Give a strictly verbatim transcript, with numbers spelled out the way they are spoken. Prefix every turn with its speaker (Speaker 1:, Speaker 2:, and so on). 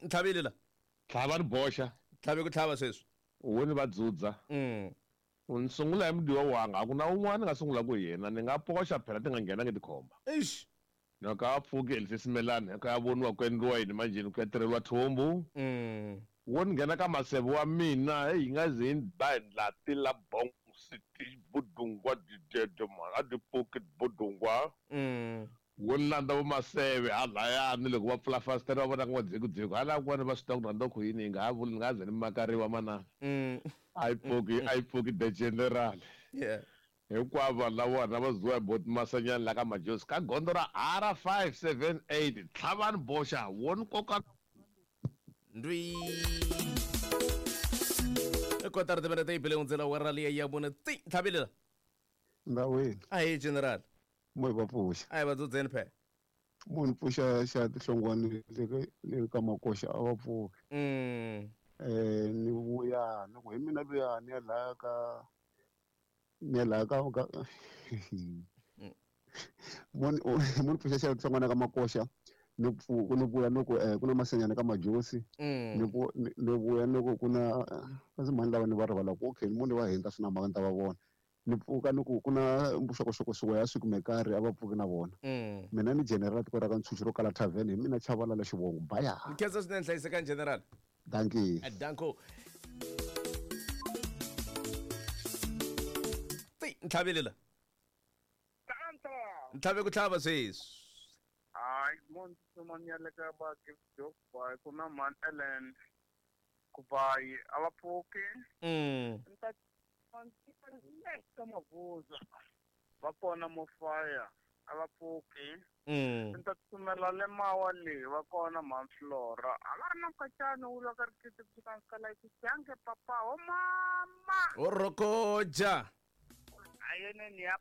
Speaker 1: Ntlhavile la.
Speaker 2: Tlhava ni boxa.
Speaker 1: Tlhave ku tlhava sweswi.
Speaker 2: Wo ni va dzudza.
Speaker 1: Mm.
Speaker 2: Ni sungula hi mudiwa wanga, a ku na un'wana nga sungula ku yena, ni nga poxa phela ti nga nghenangi tikhomba.
Speaker 1: Eish.
Speaker 2: Na ka pfuki elisimelani, ka ya voniwa ku endliwa yini manjheni ku ya tirheliwa thumbu.
Speaker 1: Mm.
Speaker 2: Wo ni nghena ka maseve wa mina, hey, yi nga ze yi ni ba hi ndlati la bong city budungwa didede mara a di pfuki budungwa.
Speaker 1: Mm.
Speaker 2: Wo ni landza vo maseve halayani loko va pfula fasitere va vona ku n'wa hala kun'wana va swi tiva ku rhandza ku yini yi nga ha vuli ni nga ze ni makariwa manana.
Speaker 1: Mm.
Speaker 2: A yi pfuki a yi pfuki the general.
Speaker 1: Yeah.
Speaker 2: Hinkwavo vanhu lava vona va zuwa hi boti Masanyani la ka Majosi ka gondzo ra R five seven eight tlhavani boxa wo ni koka
Speaker 1: ndwi. Kotara timinete yi bile hundzela awara liya ya mune ti ntlhavile la.
Speaker 3: Ndawini.
Speaker 1: Ahee general.
Speaker 3: Mo hi va pfuxa.
Speaker 1: A hi va dzudzeni phela.
Speaker 3: Munhu pfuxa xa tinhlongwane le le ka makoxa a va pfuki.
Speaker 1: Mm.
Speaker 3: Eh ni vuya ni ku hi mina luya ni ya laya ka ni ya laya ka ka munhu munhu pfuxa xa tinhlongwane ka makoxa ni pfu ni vuya ni ku eh ku na Masenyana ka Majosi.
Speaker 1: Mm.
Speaker 3: Ni ku ni vuya ni ku ku na kasi mhani lava ni va rivala ku okay munhu wa hindza swi na mhaka ni ta va vona. Ni pfuka ni ku ku na vuxokoxoko swo ya swi kumekari a va pfuki na vona.
Speaker 1: Mm.
Speaker 3: Mina ni general tiko ra ka Ntshuxi ro kala tavern hi mina Chavalala xivongo baya.
Speaker 1: Nkhensa swinene hlayisekani general.
Speaker 3: Dankie.
Speaker 1: Danko. Ti ntlhavile la. Ntlhave ku tlhava sweswi.
Speaker 4: Hayi munhu tsumani le ka ba gift job ba ku na man Ellen ku bayi a va pfuki.
Speaker 1: Mm.
Speaker 4: Nta ka Mavuza va kona mo fire a va pfuki.
Speaker 1: Mm.
Speaker 4: Nta tsumela le mawa le va kona man Flora a va ri na mukacana wu lwa ka rikiti ku fika ka la ku papa o mama
Speaker 1: o rokoja
Speaker 4: a yene ni ya